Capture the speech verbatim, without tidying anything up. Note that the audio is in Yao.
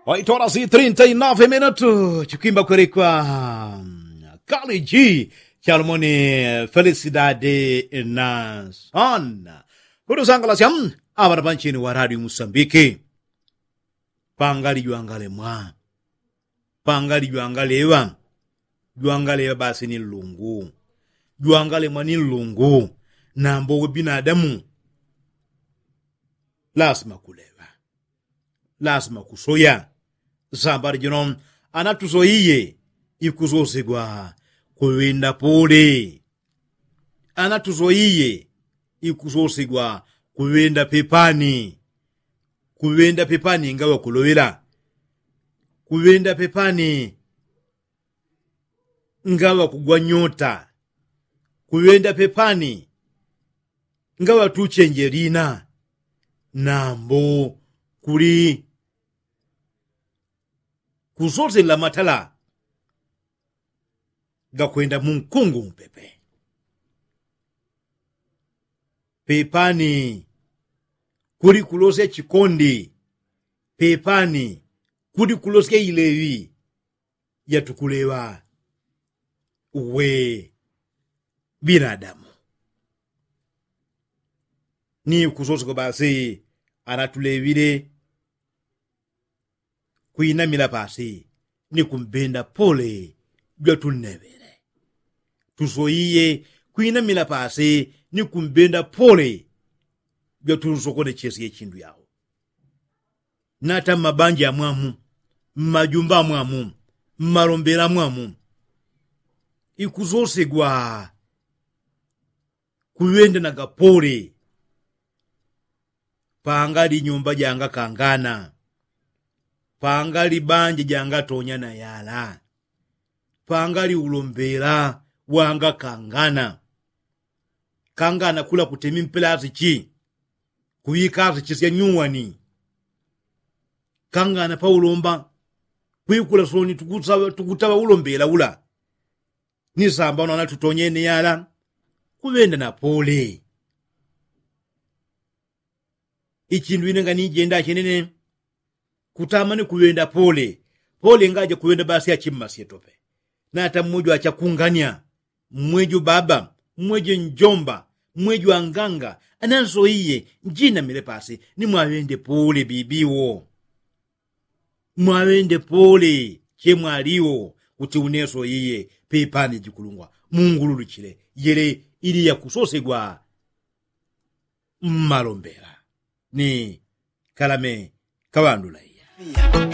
Oitola si trinta y nove minutu chikwimba kwerekwa kaliji chalumoni felisidade na sana. Kutusangalasya aŵana panchini wa radio musambiki. Pangali jwangalemwa pangali jwangaleŵa. Jwangaleŵa basi ni nlungu. Jwangalemwa ni nlungu. Nambo we binadamu lasima kuleŵa. Lasima kusoya. Sambali jino anatusoiye ikusosegwa kuŵenda pole. Anatusoiye ikusosegwa kuŵenda pepani. Kuŵenda pepani ngaŵa kuloŵela. Kuŵenda pepani ngaŵa kugwa nyota. Kuŵenda pepani ngaŵa tuchenje lina. Nambo kuli kusoselela matala gakwenda munkungu mpepe. Pepani kuli kulosya chikondi. Pepani kuli kulosya ileŵi yatukuleŵa uwe binadamu. Ni kusoseko basi anatuleŵile kwinamila pasi ni kumbenda pole jwatunneŵele. Tusoiye kwinamila pasi ni kumbenda pole jwatunsokonechesye chindu yao. Nata mmabanja amwamu mmajumba amwamu mmalombela amwamu ikusosegwa kuŵenda na gapole. Pangali nyumba jangakangana. Pangali banja jangatonya na yala. Pangali ulombela wangakangana. Kangana kula kutemi mpela asichi kuŵika asichi sya nyuwani. Kangana paulomba kwikula soni tukutaŵa ulombela ula. Ni sambano anatutonyene yala kuŵenda na pole. Ichindu ine nganijenda chenene kutama ni kuŵenda pole. Pole ngaja kuŵenda basi achimmasye tope. Nata mmwejo achakunganya mmwejo baba mmwejo njomba mmwejo anganga anansoiye njinamile pasi ni mwaŵende pole bibiwo. Mwaŵende pole chemwaliwo kuti uneso iye pepani jikulungwa mungululuchile yele ili yakusosegwa mmalombela ni kalame kaŵandula iya.